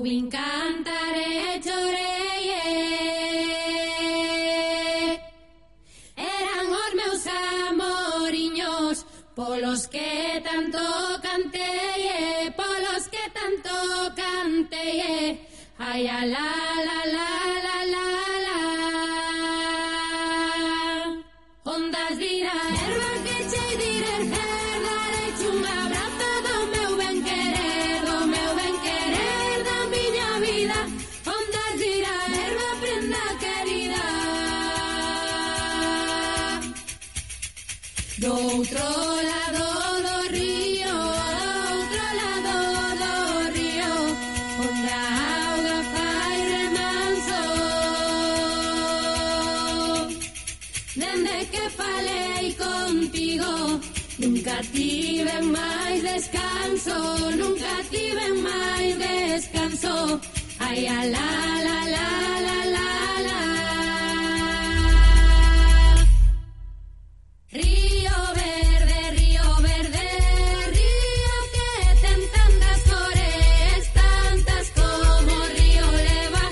vin cantar e chorei, eran os meus amoriños, polos que tanto cantei, polos que tanto cantei, ai a la la la la la la. Ondas dira erva que chei direr her, darei un abrazo do meu ben querer da miña vida. Ondas dira erva prenda querida, do outro lado do río, onde a auga fai remanso. Dende que falei contigo, nunca tiven máis descanso, nunca tiven máis descanso. Ai, a la la la la la la. Río verde, río que ten tantas cores, tantas como o río leva,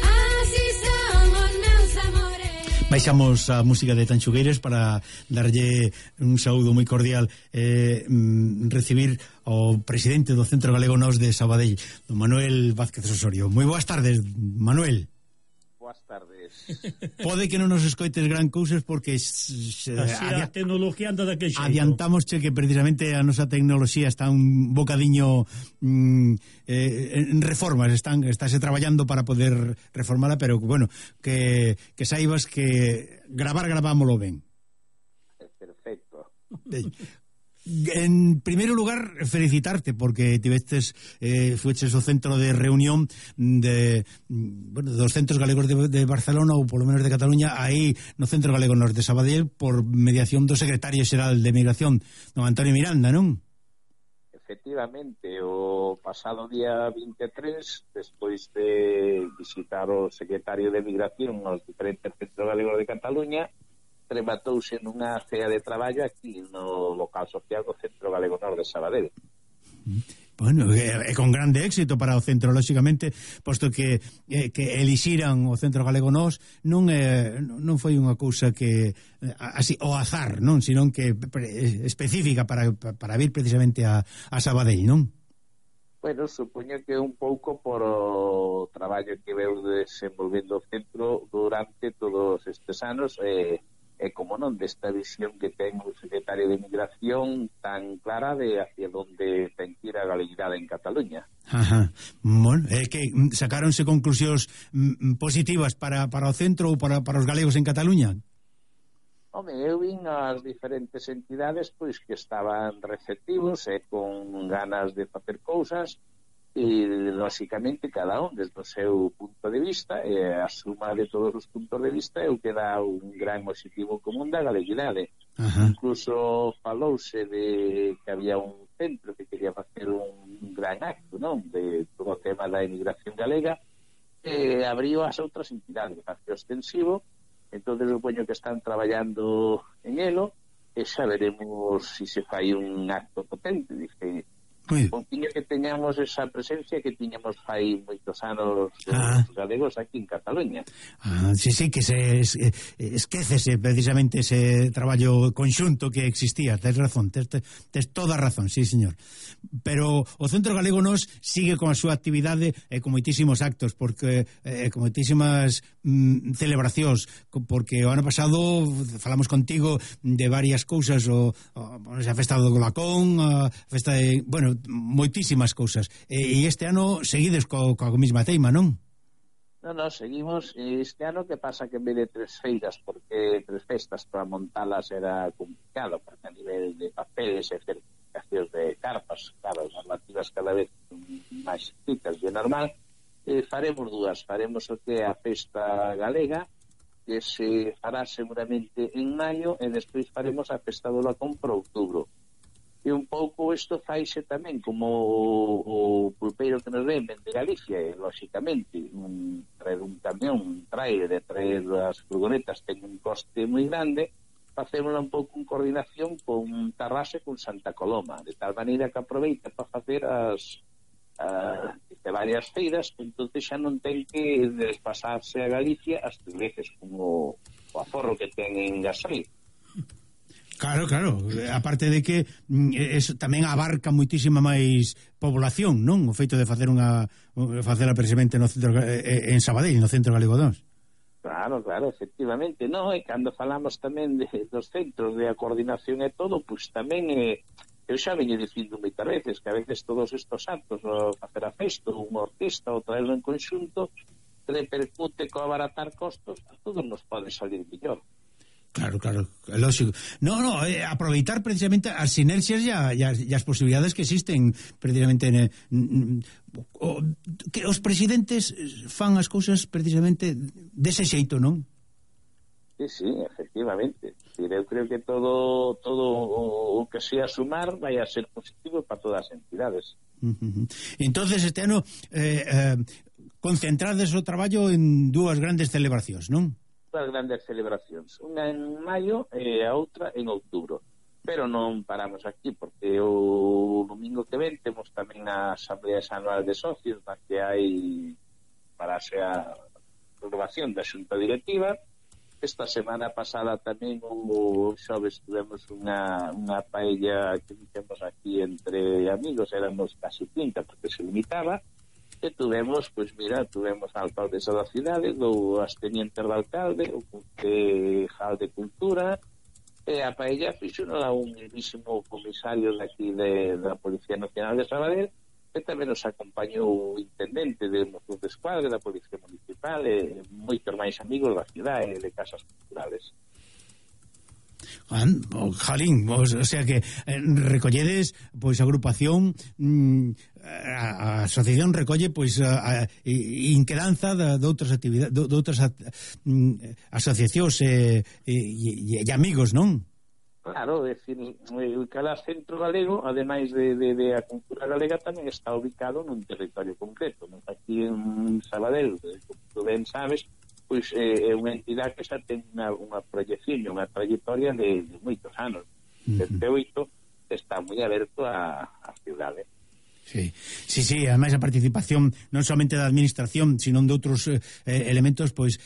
así son os meus amores. Baixamos a música de Tanchugueiras para darlle un saúdo moi cordial, recibir ao presidente do Centro Galego Nós de Sabadell, don Manuel Vázquez Osorio. Moi boas tardes, Manuel. Boas tardes. Pode que non nos escoites gran cousas porque a tecnología anda daquele xeito. Adiantámosche que precisamente a nosa tecnoloxía está un bocadiño en reformas, estáse traballando para poder reformala, pero bueno, que saibas que gravámoslo ben. Perfecto. En primeiro lugar, felicitarte porque tivestes, fueches o centro de reunión dos centros galegos de Barcelona ou polo menos de Cataluña, aí no Centro Galego Nós de Sabadell, por mediación do secretario xeral de Migración, don Antonio Miranda, non? Efectivamente, o pasado día 23, despois de visitar o secretario de Migración nos diferentes centros galegos de Cataluña, rematouse nunha cea de traballo aquí no local social do Centro Galego Nós de Sabadell. Bueno, é con grande éxito para o centro, lóxicamente, posto que elixiran o Centro Galego Nós non foi unha cousa que así o azar, non, senón que específica para vir precisamente a Sabadell, non? Bueno, supoño que un pouco por o traballo que veu desenvolvendo o centro durante todos estes anos, e como non, desta visión que ten o secretario de Migración tan clara de hacia onde ten que ir a galeguidade en Cataluña. Ajá. Bueno, é que sacáronse conclusións positivas para o centro ou para os galegos en Cataluña? Home, eu vin as diferentes entidades pois que estaban receptivos e con ganas de facer cousas, e lóxicamente cada un desde o seu punto de vista, e a suma de todos os puntos de vista é o que dá un gran objetivo común da galeguidade. Incluso falouse de que había un centro que quería facer un gran acto, non, de todo o tema da emigración galega, e abriu as outras entidades, facía extensivo. Entón supoño que están traballando en elo e xa veremos se se fai un acto potente. Dice, contiño que teñamos esa presencia que tiñamos fai moitos anos os galegos aquí en Cataluña. Sí, que se esquécese precisamente ese traballo conxunto que existía. Tes razón, tes toda a razón, sí, señor. Pero o Centro Galego Nós sigue con a súa actividade e con moitísimos actos, porque con moitísimas celebracións, porque o ano pasado falamos contigo de varias cousas, a festa do Golacón, a festa de, bueno, moitísimas cousas, e este ano seguides coa mesma teima, non? Non, seguimos. Este ano que pasa que en vez de 3 feiras, porque 3 festas para montalas era complicado, porque a nivel de papeles e certificacións de carpas, claro, as normativas cada vez máis estrictas de normal, faremos 2, faremos o que é a festa galega, que se fará seguramente en maio, e despois faremos a festa do Lacón para outubro. E un pouco isto faise tamén como o pulpeiro que nos ven de Galicia, e lóxicamente traer un camión, de traer as furgonetas ten un coste moi grande, facémosla un pouco en coordinación con Tarrasa e con Santa Coloma, de tal maneira que aproveita para facer as de varias feiras, entonces xa non ten que despasarse a Galicia as veces como o aforro que ten en Gasoil. Claro, aparte de que eso tamén abarca moitísima máis población, non? O feito de facela precisamente no centro, en Sabadell, no centro galego 2. Claro, efectivamente. No, e cando falamos tamén dos centros de a coordinación e todo, pois tamén eu xa veño dicindo moitas veces que a veces todos estos actos, o facer a festa, unha orquesta, ou traerlo en conxunto, repercute co abaratar costos, a todos nos pode salir mellor. Claro, lógico. No, aproveitar precisamente as sinerxias e as posibilidades que existen precisamente que os presidentes fan as cousas precisamente dese xeito, non? Sí, efectivamente. Eu creo que todo o que sea sumar vai a ser positivo para todas as entidades. Entonces este ano concentrades o traballo en dúas grandes celebracións, non? Dúas grandes celebracións, unha en maio e a outra en outubro, pero non paramos aquí porque o domingo que ven temos tamén a Asamblea Anual de Socios na que hai para a renovación da xunta directiva. Esta semana pasada tamén o xoves tuvemos unha paella que temos aquí entre amigos, éramos casi 30 porque se limitaba, e tuvemos a alcaldesa da cidade, as tenientes do alcalde, o concejal de cultura, e a paella fixo a un mismísimo comisario daqui da Policía Nacional de Sabadell, e tamén nos acompañou o intendente de Mossos de Escuadra, da Policía Municipal, e moitos máis amigos da cidade e de casas culturales. Jalín, o sea que recolledes pois agrupación, a asociación recolle pois a inquedanza de outras actividades, de outras asociacións e amigos, non? Claro, é dicir, cada centro galego, ademais de a cultura galega, tamén está ubicado nun territorio concreto. Aquí en Sabadell, como tú ben sabes, pois é unha entidade que xa ten unha proyección, unha trayectoria de moitos anos. Desde 8 está moi aberto a cidade. Sí, ademais a participación non somente da administración, sino de outros elementos, pois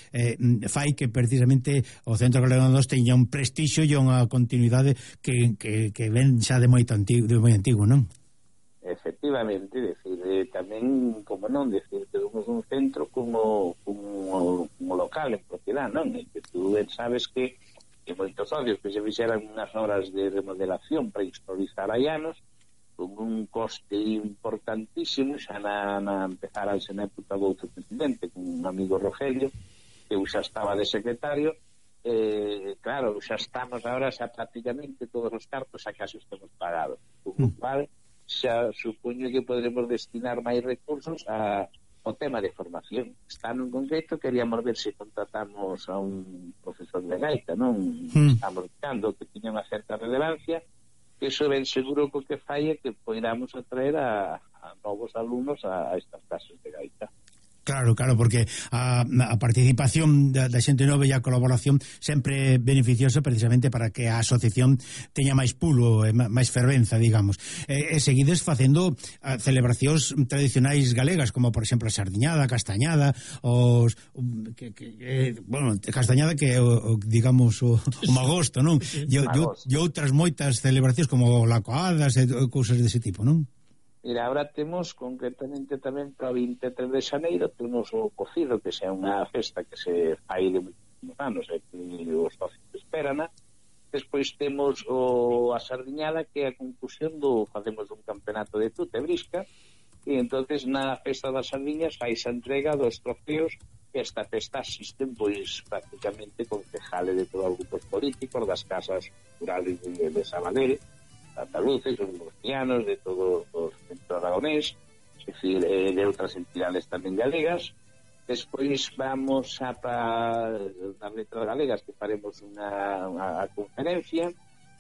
fai que precisamente o Centro Galego 2 teña un prestixio e unha continuidade que ven xa de moi antigo, non? Efectivamente, decir, tamén, como non, decir, temos un centro como local en propiedade, non? Que tú sabes que moitos socios que se fixeran unhas obras de remodelación para historizar hai anos, con un coste importantísimo, xa na empezarase na época do outro presidente, con un amigo Rogelio, que xa estaba de secretario, claro, xa estamos agora xa prácticamente todos os cartos xa casi estamos pagados, con o cual xa supoño que podremos destinar máis recursos ao tema de formación. Este ano en concreto queríamos ver se contratamos a un profesor de gaita, non? Estamos buscando que tiña unha certa relevancia, que iso ben seguro que o que fai é que poidamos atraer a novos alumnos a estas clases de gaita. Claro, porque a participación da xente nova e a colaboración sempre é beneficiosa precisamente para que a asociación teña máis pulo e máis fervenza, digamos. E seguides facendo celebracións tradicionais galegas, como por exemplo a sardiñada, a castañada, castañada que digamos o magosto, non? E outras moitas celebracións como lacoadas e cousas dese tipo, non? Mira, ahora temos concretamente tamén para o 23 de xaneiro temos o cocido, que xa é unha festa que se fai de moitos anos e que os socios esperan. Despois temos a sardiñada, que é a conclusión facemos un campeonato de tute brisca, e entonces na festa das sardiñas fais a entrega dos trofeos. Esta festa asisten pois prácticamente concejales de todos os grupos políticos, das casas culturales de Sabadell, andaluces, os murcianos, de todos os centros aragonés, es decir, de outras entidades tamén galegas. Despois vamos para as letras galegas, que faremos unha conferencia.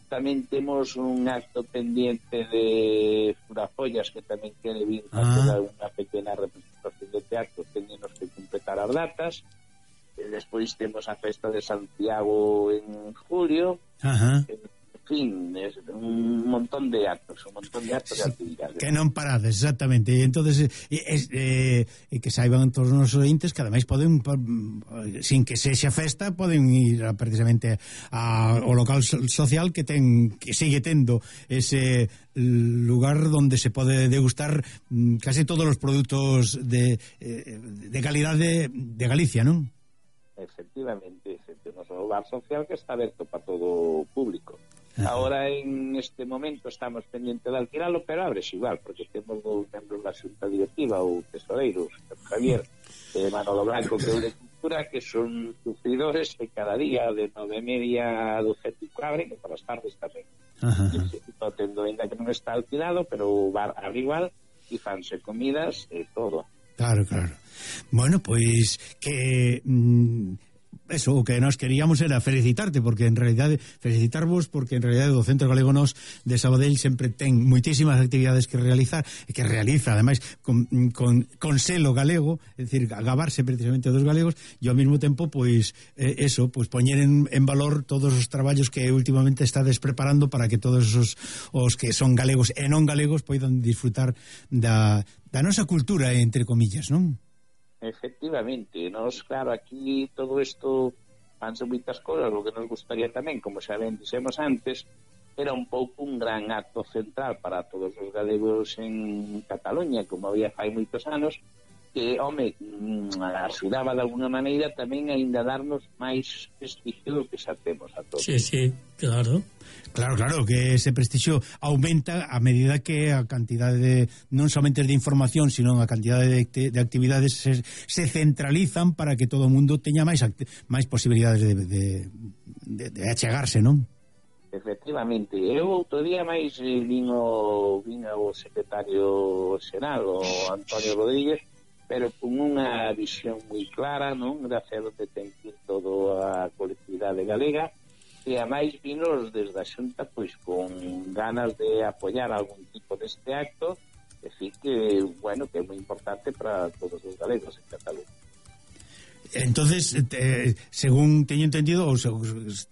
Tamén temos un acto pendiente de Furafollas, que tamén quere vir a toda unha pequena representación de teatro, teñenos que completar as datas. Despois temos a festa de Santiago en julio. En fin, un montón de actos de actividades. Que non parades, exactamente. E entonces que saiban todos os nosos ointes que ademais poden, sin que sexa festa, poden ir precisamente ao local social que sigue tendo ese lugar donde se pode degustar casi todos os produtos de calidade de Galicia, non? Efectivamente, o noso lugar social que está aberto para todo o público. Ahora en este momento estamos pendientes de alquilalo, pero abres igual, porque temos dos membros da xunta directiva, o tesoreiro, Javier, Manolo Blanco, que é o de Cultura, que son sufridores de cada día de 9:30 a 12:15, que por as tardes tamén. Estou tendo ainda que non está alquilado, pero o bar abre igual e fanse comidas e todo. Claro. Bueno, pois que eso, o que nos queríamos era felicitarte, porque en realidade felicitarvos, porque en realidade o Centro Galego Nos de Sabadell sempre ten moitísimas actividades que realizar, e que realiza ademais con selo galego, é dicir, gabarse precisamente dos galegos, e ao mesmo tempo pois poñer en valor todos os traballos que últimamente estades preparando para que todos os que son galegos e non galegos poidan disfrutar da nosa cultura, entre comillas, non? Efectivamente, nos, claro, aquí todo isto fanse moitas cosas, o que nos gustaría tamén, como xa ben dixemos antes, era un pouco un gran acto central para todos os galegos en Cataluña, como había fai moitos anos, que, home, axudaba de alguna maneira tamén a ainda darnos máis prestigio do que xa temos a todos. Sí, claro. Claro, que ese prestigio aumenta a medida que a cantidade non somente de información, sino a cantidade de actividades se centralizan para que todo o mundo teña máis posibilidades de achegarse, non? Efectivamente. Eu outro día máis vin o secretario xeral, o Antonio Rodríguez, pero con unha visión moi clara, non? De hacer onde ten que ir toda a colectividade galega, e a máis vinos desde a Xunta pois con ganas de apoiar algún tipo deste acto, e decir que, bueno, que é moi importante para todos os galegos en Cataluña. Entonces, según teño entendido, ou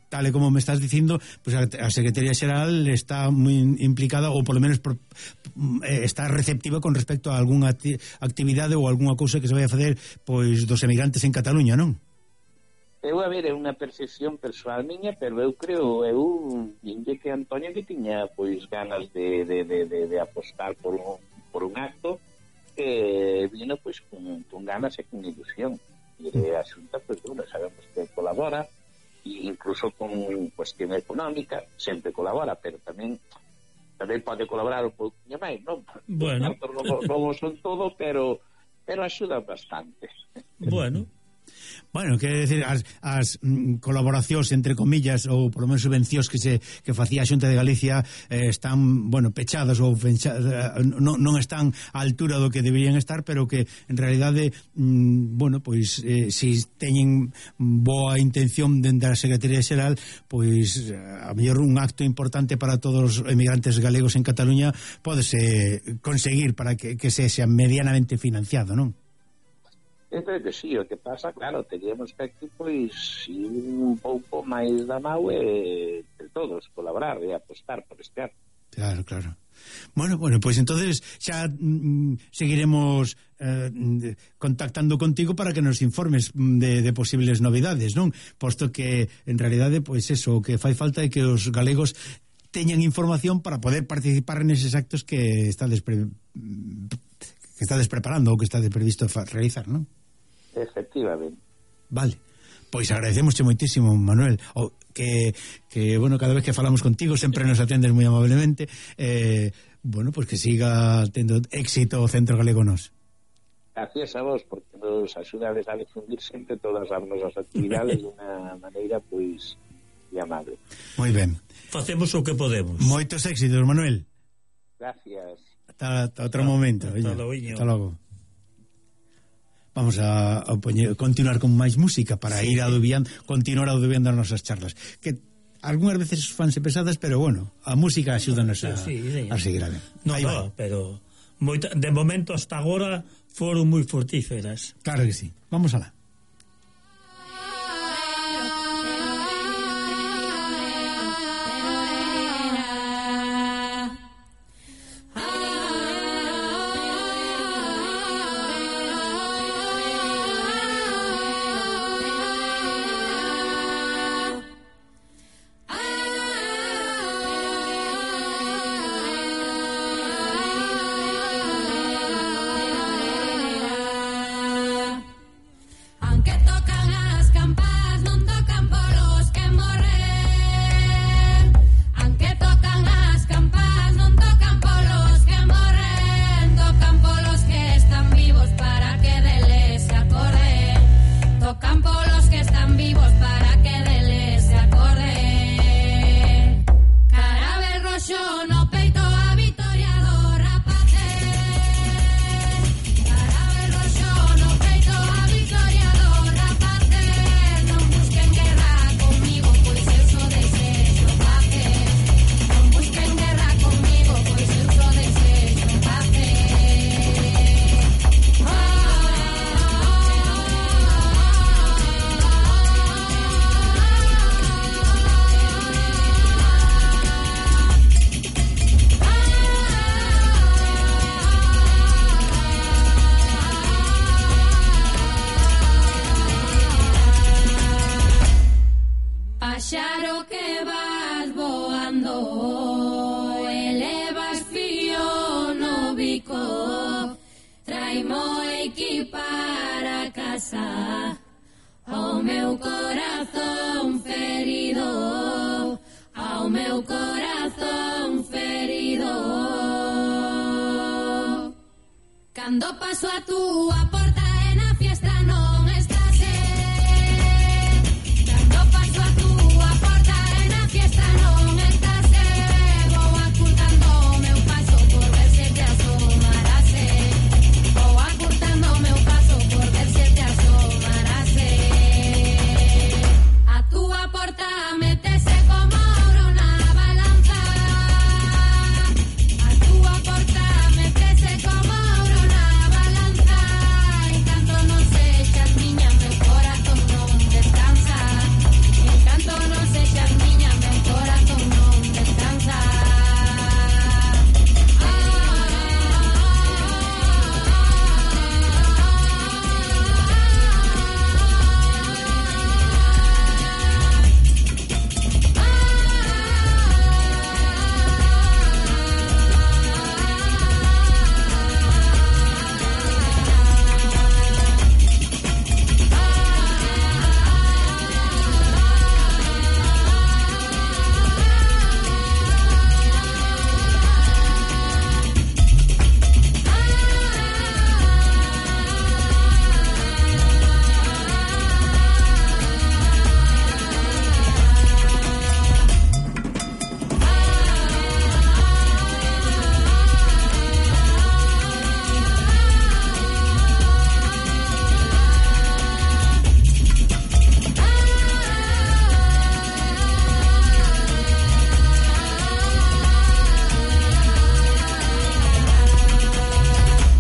tal e como me estás dicindo, pues a Secretaría Xeral está moi implicada, ou polo menos está receptiva con respecto a algunha actividade ou algunha cousa que se vai a facer pois dos emigrantes en Cataluña, non? Eu, a ver, é unha percepción persoal miña, pero eu creo, dinlle que Antonio que tiña pois ganas de apostar por un acto que vino pois con ganas e con ilusión. E a Xunta, pois, bueno, sabemos que colabora, e incluso con cuestión económica, sempre colabora, pero tamén pode colaborar un pouquinho máis, non? Bueno. Non son todo, pero axuda bastante. Bueno, quer decir, as colaboracións, entre comillas, ou polo menos subvencións que facía a Xunta de Galicia están, bueno, pechadas ou non están á altura do que deberían estar, pero que en realidade, bueno, pois si teñen boa intención dende a Secretaría Xeral, pois a mellor un acto importante para todos os emigrantes galegos en Cataluña pódese conseguir para que sexa medianamente financiado, non? Creo que sí, o que pasa, claro, teríamos que aquí, pois, ir un pouco máis da mau e todos colaborar e apostar por este acto. Claro. Bueno, pois entonces xa seguiremos contactando contigo para que nos informes de posibles novidades, non? Posto que, en realidade, pois eso, o que fai falta é que os galegos teñan información para poder participar neses actos que estades preparando ou que estades previsto realizar, non? Efectivamente. Vale, pois agradecemosche moitísimo, Manuel, que bueno, cada vez que falamos contigo sempre nos atendes moi amablemente, bueno, pois que siga tendo éxito o Centro Galego Nos. Gracias a vos, porque nos axudades a difundir sempre todas as nosas actividades de unha maneira, pois, amable. Moi ben. Facemos o que podemos. Moitos éxitos, Manuel. Gracias. Hasta outro momento. Hasta logo. Vamos a continuar con máis música para continuar adubiando as nosas charlas, que algunhas veces fanse pesadas, pero bueno, a música axúdanos a seguir a ver. Pero de momento hasta agora foron moi fructíferas. Claro que sí. Vamos alá. bico, traimo aquí para casa, ao meu corazón ferido, ao meu corazón ferido. Cando paso a túa porta e na fiestra no